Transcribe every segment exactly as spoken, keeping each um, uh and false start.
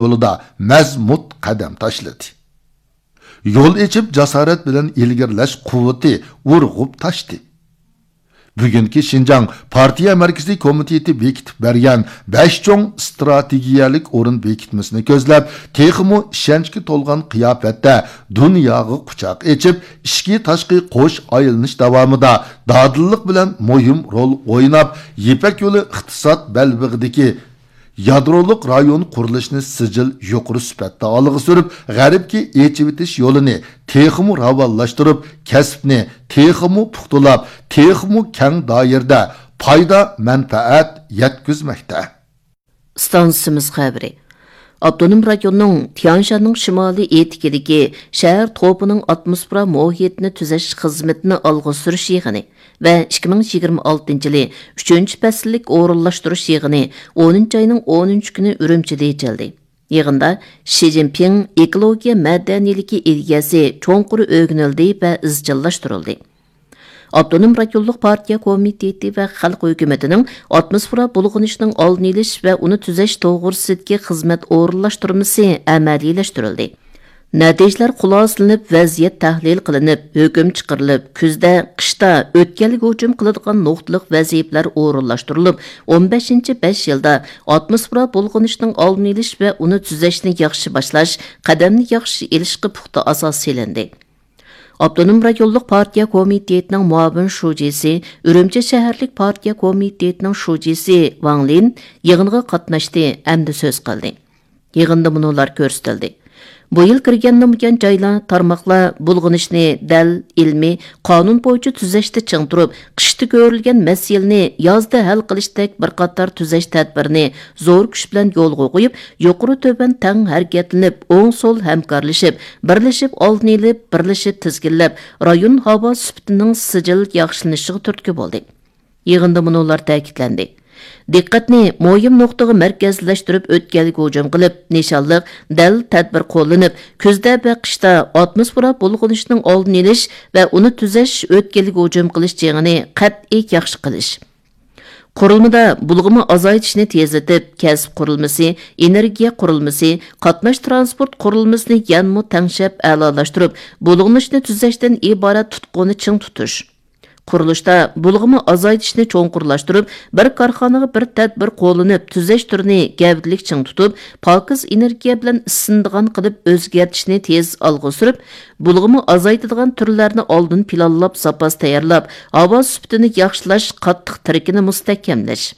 يولىدا مەزمۇت قەدەم تاشلىدى. يول ئېچىپ، جاسارەت بىلەن ئىلگىرىلەش قۇۋۋىتى ئۇرغۇپ تاشتى. بۈگۈنكى شىنجاڭ پارتىيە مەركىزىي كومىتېتى بېكىتىپ بەرگەن بەش چوڭ ئىستراتېگىيەلىك ئورۇن بېكىتمىسىنى كۆزلەپ، تېخىمۇ ئىشەنچكە تولغان قىياپەتتە دۇنياغا قۇچاق ئېچىپ، ئىچكى تاشقى قوش ئايلىنىش داۋامىدا دادىللىق بىلەن مۇھىم رول ئويناپ، يىپەك يولى ئىقتىساد بەلبېغىدىكى يادرولۇق رايون قۇرۇلۇشىنى سىجىل يۇقىرى سۈپەتتە ئالغا سۈرۈپ، غەربكە ئېچىۋېتىش يولىنى تېخىمۇ راۋانلاشتۇرۇپ، كەسىپنى تېخىمۇ پۇختىلاپ، تېخىمۇ كەڭ دائىرىدە پايدا، مەنپەئەت يەتكۈزمەكتە. ئىستانسىمىز خەۋىرى. ئاپتونوم رايوننىڭ تيانشاننىڭ شىمالىي ئېتىكىدىكى شەھەر توپىنىڭ ئاتموسفېرا مۇھىتىنى تۈزەش خىزمىتىنى ئالغا سۈرۈش يىغىنى ۋە ئىككى مىڭ يىگىرمە ئالتىنچى يىلى ئۈچىنچى پەسىللىك ئورۇنلاشتۇرۇش يىغىنى ئونىنچى ئاينىڭ ئونىنچى كۈنى ئۈرۈمچىدە ئېچىلدى. يىغىندا شى جىنپىڭ ئېكولوگىيە مەدەنىيلىكى ئىدىيەسى چوڭقۇر ئۆگىنىلدى ۋە ئىزچىللاشتۇرۇلدى. ئاپتونوم رايونلۇق پارتىيە كومىتېتى ۋە خەلق ھۆكۈمىتىنىڭ ئاتموسفېرا بۇلغىنىشنىڭ ئالدىنى ئېلىش ۋە ئۇنى تۈزەش توغرىسىدىكى خىزمەت ئورۇنلاشتۇرمىسى ئەمەلىيلەشتۈرۈلدى. نەتىجىلەر خۇلاسىلىنىپ، ۋەزىيەت تەھلىل قىلىنىپ، ھۆكۈم چىقىرىلىپ، كۈزدە، قىشتا ئۆتكەلگە ھۇجۇم قىلىدىغان نۇقتىلىق ۋەزىپىلەر ئورۇنلاشتۇرۇلۇپ، ئون بەشىنچى بەش يىلدا ئاتموسفېرا بۇلغىنىشنىڭ ئالدىنى ئېلىش ۋە ئۇنى تۈزەشنى ياخشى باشلاش، قەدەمنى ياخشى ئېلىشقا پۇختا ئاساس سېلىندى. ئاپتونوم رايونلۇق پارتىيە كومىتېتىنىڭ مۇئاۋىن شۇجىسى، ئۈرۈمچى شەھەرلىك پارتىيە كومىتېتىنىڭ شۇجىسى ۋاڭ لىن يىغىنغا قاتناشتى ھەمدە سۆز قىلدى. يىغىندا مۇنۇلار كۆرسىتىلدى. بۇ يىل كىرگەندىن بۇيان جايلار، تارماقلار بۇلغىنىشنى دەل ئىلمىي، قانۇن بويىچە تۈزەشتە چىڭ تۇرۇپ، قىشتا كۆرۈلگەن مەسىلىنى يازدا ھەل قىلىشتەك بىر قاتار تۈزەش تەدبىرىنى زور كۈچ بىلەن يولغا قويۇپ، يۇقىرى تۆۋەن تەڭ ھەرىكەتلىنىپ، ئوڭ سول ھەمكارلىشىپ، بىرلىشىپ ئالدىنى ئېلىپ، بىرلىشىپ تىزگىنلەپ، رايون ھاۋا سۈپىتىنىڭ سىجىل ياخشىلىنىشىغا تۈرتكە بولدى. يىغىندا مۇنۇلار تەكىتلەندى. دىققەتنى مۇھىم نۇقتىغا مەركەزلەشتۈرۈپ، ئۆتكەلگە ھۇجۇم قىلىپ، نىشانلىق، دەل تەدبىر قوللىنىپ، كۈزدە ۋە قىشتا ئاتموسفېرا بۇلغىنىشنىڭ ئالدىنى ئېلىش ۋە ئۇنى تۈزەش، ئۆتكەلگە ھۇجۇم قىلىش جېڭىنى قەتئىي ياخشى قىلىش. قۇرۇلمىدا بۇلغىما ئازايتىشنى تېزلىتىپ، كەسىپ قۇرۇلمىسى، ئېنېرگىيە قۇرۇلمىسى، قاتناش تىرانسپورت قۇرۇلمىسىنى يەنىمۇ تەڭشەپ ئەلالاشتۇرۇپ، بۇلغىنىشنى تۈزەشتىن ئىبارەت تۇتقۇنى چىڭ تۇتۇش. قۇرۇلۇشتا بۇلغىما ئازايتىشنى چوڭقۇرلاشتۇرۇپ، بىر كارخانىغا بىر تەدبىر قوللىنىپ، تۈزەش تۈرىنى گەۋدىلىك چىڭ تۇتۇپ، پاكىز ئېنېرگىيە بىلەن ئىسسىنىدىغان قىلىپ ئۆزگەرتىشنى تېز ئالغا سۈرۈپ، بۇلغىما ئازايتىدىغان تۈرلەرنى ئالدىن پىلانلاپ، زاپاس تەييارلاپ، ھاۋا سۈپىتىنى ياخشىلاش قاتتىق تىرىكىنى مۇستەھكەملەش.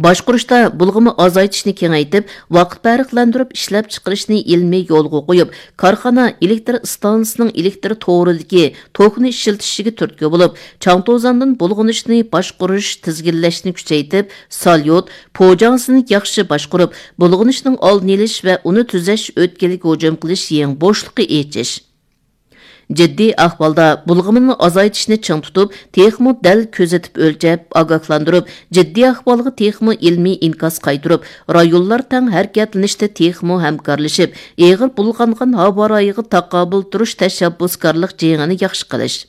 باشقۇرۇشتا بۇلغىما ئازايتىشنى كېڭەيتىپ، ۋاقىت پەرقلەندۈرۈپ ئىشلەپچىقىرىشنى ئىلمىي يولغا قويۇپ، كارخانا ئېلېكتر ئىستانسىسىنىڭ ئېلېكتر تورىدىكى توكنى ئىشلىتىشىگە تۈرتكە بولۇپ، چاڭ توزاندىن بۇلغىنىشنى باشقۇرۇش، تىزگىنلەشنى كۈچەيتىپ، ساليۇت، پوجاڭسىنى ياخشى باشقۇرۇپ، بۇلغىنىشنىڭ ئالدىنى ئېلىش ۋە ئۇنى تۈزەش، ئۆتكىلىگە ھۇجۇم قىلىش يېڭى بوشلۇقى ئېچىش. جىددىي ئەھۋالدا بۇلغىمىنى ئازايتىشنى چىڭ تۇتۇپ، تېخىمۇ دەل كۆزىتىپ ئۆلچەپ، ئاگاھلاندۇرۇپ، جىددىي ئەھۋالغا تېخىمۇ ئىلمىي ئىنكاس قايتۇرۇپ، رايونلار تەڭ ھەرىكەتلىنىشتە تېخىمۇ ھەمكارلىشىپ، ئېغىر بۇلغانغان ھاۋا رايىغا تاقابىل تۇرۇش تەشەببۇسكارلىق جېڭىنى ياخشى قىلىش.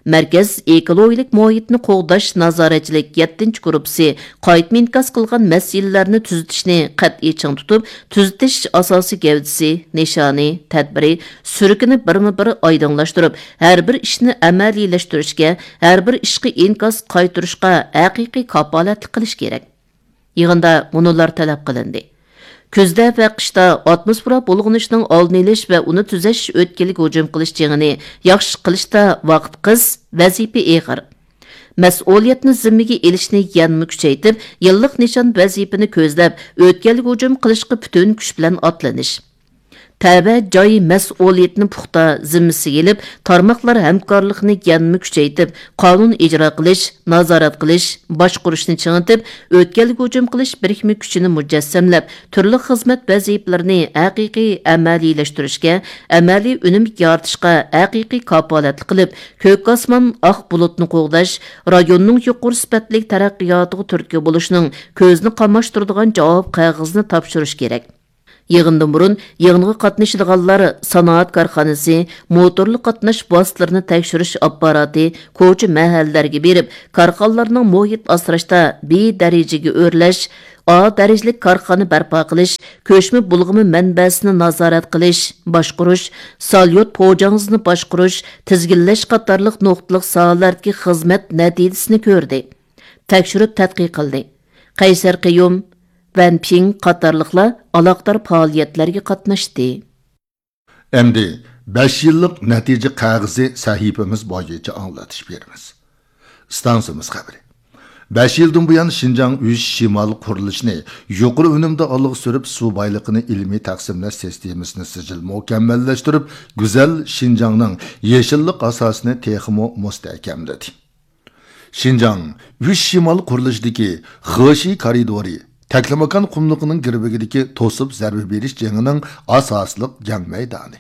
مەركەز ئېكولوگىيەلىك مۇھىتنى قوغداش نازارەتچىلىك يەتتىنچى گۇرۇپپىسى قايتما ئىنكاس قىلغان مەسىلىلەرنى تۈزىتىشنى قەتئىي چىڭ تۇتۇپ، تۈزىتىش ئاساسىي گەۋدىسى، نىشانى، تەدبىرى، سۈرىكىنى بىرمۇ بىر ئايدىڭلاشتۇرۇپ، ھەر بىر ئىشنى ئەمەلىيلەشتۈرۈشكە، ھەر بىر ئىشقا ئىنكاس قايتۇرۇشقا ھەقىقىي كاپالەتلىك قىلىش كېرەك. يىغىندا مۇنۇلار تەلەپ قىلىندى. كۈزدە ۋە قىشتا ئاتموسفېرا بۇلغىنىشنىڭ ئالدىنى ئېلىش ۋە ئۇنى تۈزەش، ئۆتكىلىگە ھۇجۇم قىلىش جېڭىنى ياخشى قىلىشتا ۋاقىت قىس، ۋەزىپە ئېغىر. مەسئۇلىيەتنى زىممىگە ئېلىشنى يەنىمۇ كۈچەيتىپ، يىللىق نىشان ۋەزىپىنى كۆزلەپ، ئۆتكەلگە ھۇجۇم قىلىشقا پۈتۈن كۈچ بىلەن ئاتلىنىش. تەۋە جاي مەسئۇلىيىتىنى پۇختا زىممىسىگە ئېلىپ، تارماقلار ھەمكارلىقىنى يەنىمۇ كۈچەيتىپ، قانۇن ئىجرا قىلىش، نازارەت قىلىش، باشقۇرۇشنى چىڭىتىپ، ئۆتكەلگە ھۇجۇم قىلىش بىرىكمە كۈچىنى مۇجەسسەملەپ، تۈرلۈك خىزمەت ۋەزىپىلىرىنى ھەقىقىي ئەمەلىيلەشتۈرۈشكە، ئەمەلىي ئۈنۈم يارىتىشقا ھەقىقىي كاپالەتلىك قىلىپ، كۆك ئاسمان، ئاق بۇلۇتنى قوغداش، رايوننىڭ يۇقىرى سۈپەتلىك تەرەققىياتىغا تۈرتكە بولۇشنىڭ كۆزنى قاماشتۇرىدىغان جاۋاب قەغىزىنى تاپشۇرۇش كېرەك. يىغىندىن بۇرۇن يىغىنغا قاتنىشىدىغانلار سانائەت كارخانىسى، موتورلۇق قاتناش ۋاسىتىلىرىنى تەكشۈرۈش ئاپپاراتى، كوچا، مەھەللىلەرگە بېرىپ، كارخانىلارنىڭ مۇھىت ئاسراشتا بى دەرىجىگە ئۆرلەش، ئا دەرىجىلىك كارخانا بەرپا قىلىش، كۆچمە بۇلغىما مەنبەسىنى نازارەت قىلىش، باشقۇرۇش، ساليۇت پوجاڭزىنى باشقۇرۇش، تىزگىنلەش قاتارلىق نۇقتىلىق ساھەلەردىكى خىزمەت نەتىجىسىنى كۆردى، تەكشۈرۈپ تەتقىق قىلدى. قەيسەر قىيۇم، ۋەن پىڭ قاتارلىقلار ئالاقىدار پائالىيەتلەرگە قاتناشتى. ئەمدى بەش يىللىق نەتىجە قەغىزى سەھىپىمىز بويىچە ئاڭلىتىش بېرىمىز. ئىستانسىمىز خەۋىرى. بەش يىلدىن بۇيان، شىنجاڭ ئۈچ شىمال قۇرۇلۇشىنى يۇقىرى ئۈنۈمدە ئالغا سۈرۈپ، سۇ بايلىقىنى ئىلمىي تەقسىملەش سىستېمىسىنى سىجىل مۇكەممەللەشتۈرۈپ، گۈزەل شىنجاڭنىڭ يېشىللىق ئاساسىنى تېخىمۇ مۇستەھكەملىدى. شىنجاڭ ئۈچ شىمال قۇرۇلۇشىدىكى خېشى كارىدورى، تەكلىماكان قۇملۇقىنىڭ گىرۋىكىدىكى توسۇپ زەربە بېرىش جېڭىنىڭ ئاساسلىق جەڭ مەيدانى.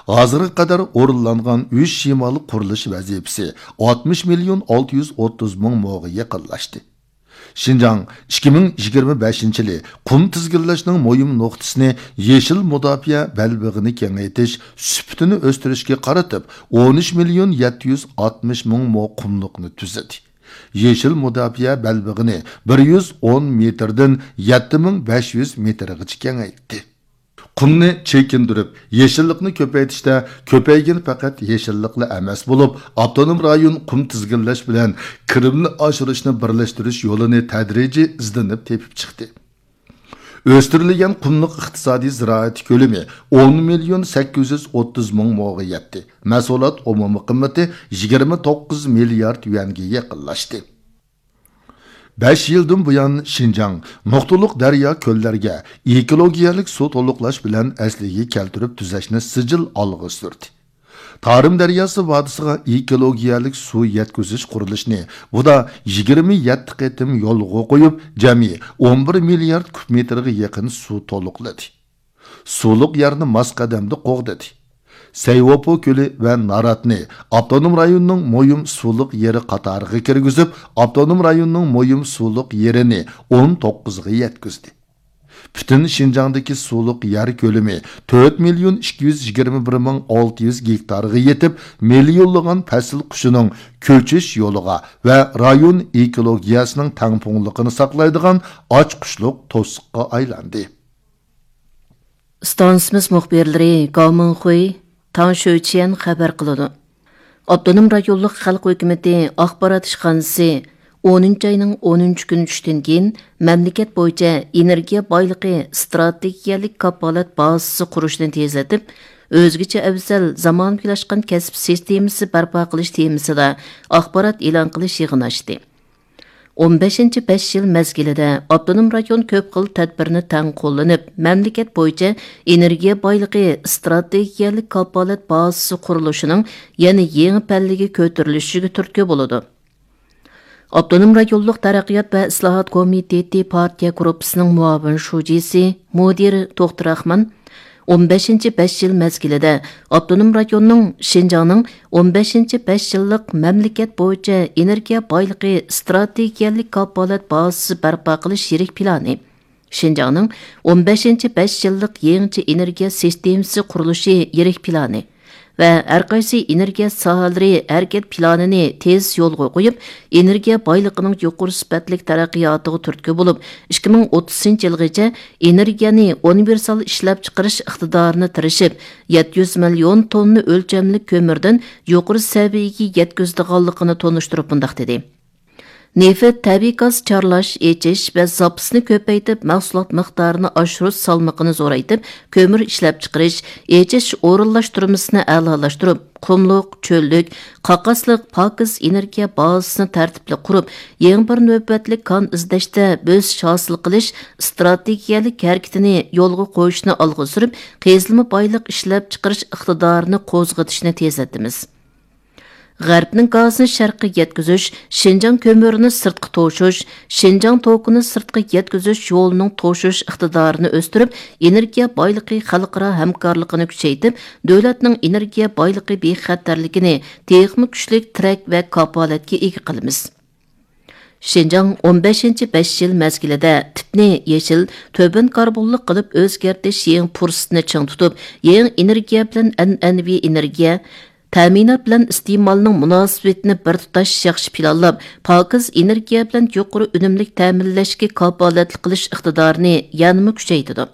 ھازىرغا قەدەر ئورۇنلانغان ئۈچ شىمال قۇرۇلۇش ۋەزىپىسى ئاتمىش مىليون ئالتە يۈز ئوتتۇز مىڭ موغا يېقىنلاشتى. شىنجاڭ ئىككى مىڭ يىگىرمە بەشىنچى يىلى قۇم تىزگىنلەشنىڭ مۇھىم نۇقتىسىنى يېشىل مۇداپىئە بەلبېغىنى كېڭەيتىش، سۈپىتىنى ئۆستۈرۈشكە قارىتىپ، ئون ئۈچ مىليون يەتتە يۈز ئاتمىش مىڭ مو قۇملۇقنى تۈزىدى. يېشىل مۇداپىئە بەلبېغىنى بىر يۈز ئون مېتىردىن يەتتە مىڭ بەش يۈز مېتىرغىچە كېڭەيتتى. قۇمنى چېكىندۈرۈپ، يېشىللىقنى كۆپەيتىشتە كۆپەيگىنى پەقەت يېشىللىقلا ئەمەس بولۇپ، ئاپتونوم رايون قۇم تىزگىنلەش بىلەن كىرىمنى ئاشۇرۇشنى بىرلەشتۈرۈش يولىنى تەدرىجىي ئىزدىنىپ تېپىپ چىقتى. ئۆستۈرۈلگەن قۇملۇق ئىقتىسادىي زىرائەت كۆلىمى ئون مىليون سەككىز يۈز ئوتتۇز مىڭ موغا يەتتى. مەھسۇلات ئومۇمىي قىممىتى يىگىرمە توققۇز مىليارد يۈەنگە يېقىنلاشتى. بەش يىلدىن بۇيان، شىنجاڭ نۇقتىلىق دەريا، كۆللەرگە ئېكولوگىيەلىك سۇ تولۇقلاش بىلەن ئەسلىگە كەلتۈرۈپ تۈزەشنى سىجىل ئالغا سۈردى. تارىم دەرياسى ۋادىسىغا ئېكولوگىيەلىك سۇ يەتكۈزۈش قۇرۇلۇشىنى ئۇدا يىگىرمە يەتتە قېتىم يولغا قويۇپ، جەمئىي ئون بىر مىليارد كۇب مېتىرغا يېقىن سۇ تولۇقلىدى. سۇلۇق يەرنى ماس قەدەمدە قوغدىدى. سەيۋوپو كۆلى ۋە ناراتنى ئاپتونوم رايوننىڭ مۇھىم سۇلۇق يېرى قاتارىغا كىرگۈزۈپ، ئاپتونوم رايوننىڭ مۇھىم سۇلۇق يېرىنى ئون توققۇزغا يەتكۈزدى. پۈتۈن شىنجاڭدىكى سۇلۇق يەر كۆلىمى تۆت مىليون ئىككى يۈز يىگىرمە بىر مىڭ ئالتە يۈز گېكتارغا يېتىپ، مىليونلىغان پەسىل قۇشىنىڭ كۆچۈش يولىغا ۋە رايون ئېكولوگىيەسىنىڭ تەڭپۇڭلۇقىنى ساقلايدىغان ئاچقۇچلۇق توسۇققا ئايلاندى. ئىستانسىمىز مۇخبىرلىرى گاۋ مىڭخۇي، تاڭ شۆچيەن خەۋەر قىلىدۇ. ئاپتونوم رايونلۇق خەلق ھۆكۈمىتى ئاخبارات ئىشخانىسى ئونىنچى ئاينىڭ ئونىنچى كۈنى چۈشتىن كېيىن مەملىكەت بويىچە ئېنېرگىيە بايلىقى ئىستراتېگىيەلىك كاپالەت بازىسى قۇرۇشنى تېزلىتىپ، ئۆزگىچە ئەۋزەل زامانىۋىلاشقان كەسىپ سىستېمىسى بەرپا قىلىش تېمىسىدا ئاخبارات ئېلان قىلىش يىغىنى ئاچتى. ئون بەشىنچى بەش يىل مەزگىلىدە ئاپتونوم رايون كۆپ خىل تەدبىرنى تەڭ قوللىنىپ، مەملىكەت بويىچە ئېنېرگىيە بايلىقى ئىستراتېگىيەلىك كاپالەت بازىسى قۇرۇلۇشىنىڭ يەنە يېڭى پەللىگە كۆتۈرۈلۈشىگە تۈرتكە بولىدۇ. ئاپتونوم رايونلۇق تەرەققىيات ۋە ئىسلاھات كومىتېتى پارتىيە گۇرۇپپىسىنىڭ مۇئاۋىن شۇجىسى، مۇدىرى توختى راخمان، ئون بەشىنچى بەش يىل مەزگىلىدە ئاپتونوم رايوننىڭ شىنجاڭنىڭ ئون بەشىنچى بەش يىللىق مەملىكەت بويىچە ئېنېرگىيە بايلىقى ئىستراتېگىيەلىك كاپالەت بازىسى بەرپا قىلىش يىرىك پىلانى، شىنجاڭنىڭ ئون بەشىنچى بەش يىللىق يېڭىچە ئېنېرگىيە سىستېمىسى قۇرۇلۇشى يىرىك پىلانى ۋە ھەرقايسى ئېنېرگىيە ساھەلىرى ھەرىكەت پىلانىنى تېز يولغا قويۇپ، ئېنېرگىيە بايلىقىنىڭ يۇقىرى سۈپەتلىك تەرەققىياتىغا تۈرتكە بولۇپ، ئىككى مىڭ ئوتتۇزىنچى يىلغىچە ئېنېرگىيەنى ئۇنىۋېرسال ئىشلەپچىقىرىش ئىقتىدارىنى تىرىشىپ، يەتتە يۈز مىليون توننا ئۆلچەملىك كۆمۈردىن يۇقىرى سەۋىيەگە يەتكۈزىدىغانلىقىنى تونۇشتۇرۇپ مۇنداق دېدى: نېفىت، تەبىئىي گاز چارلاش، ئېچىش ۋە زاپىسىنى كۆپەيتىپ، مەھسۇلات مىقدارىنى ئاشۇرۇش سالمىقىنى زورايتىپ، كۆمۈر ئىشلەپچىقىرىش، ئېچىش ئورۇنلاشتۇرمىسىنى ئەلالاشتۇرۇپ، قۇملۇق، چۆللۈك، قاقاسلىق پاكىز ئېنېرگىيە بازىسىنى تەرتىپلىك قۇرۇپ، يېڭى بىر نۆۋەتلىك كان ئىزدەشتە بۆسۈش ھاسىل قىلىش ئىستراتېگىيەلىك ھەرىكىتىنى يولغا قويۇشنى ئالغا سۈرۈپ، قېزىلما بايلىق ئىشلەپچىقىرىش ئىقتىدارىنى قوزغىتىشنى تېزلىتىمىز. غەربنىڭ گازىنى شەرققە يەتكۈزۈش، شىنجاڭ كۆمۈرىنى سىرتقا توشۇش، شىنجاڭ توكىنى سىرتقا يەتكۈزۈش يولىنىڭ توشۇش ئىقتىدارىنى ئۆستۈرۈپ، ئېنېرگىيە بايلىقى خەلقئارا ھەمكارلىقىنى كۈچەيتىپ، دۆلەتنىڭ ئېنېرگىيە بايلىقى بىخەتەرلىكىنى تېخىمۇ كۈچلۈك تىرەك ۋە كاپالەتكە ئىگە قىلىمىز. شىنجاڭ ئون بەشىنچى بەش يىل مەزگىلىدە تىپنى يېشىل، تۆۋەن كاربونلۇق قىلىپ ئۆزگەرتىش يېڭى پۇرسىتىنى چىڭ تۇتۇپ، يېڭى ئېنېرگىيە بىلەن ئەنئەنىۋى ئېنېرگىيە تەمىنات بىلەن ئىستېمالنىڭ مۇناسىۋىتىنى بىر تۇتاش ياخشى پىلانلاپ، پاكىز ئېنېرگىيە بىلەن يۇقىرى ئۈنۈملۈك تەمىنلەشكە كاپالەتلىك قىلىش ئىقتىدارىنى يەنىمۇ كۈچەيتىدۇ.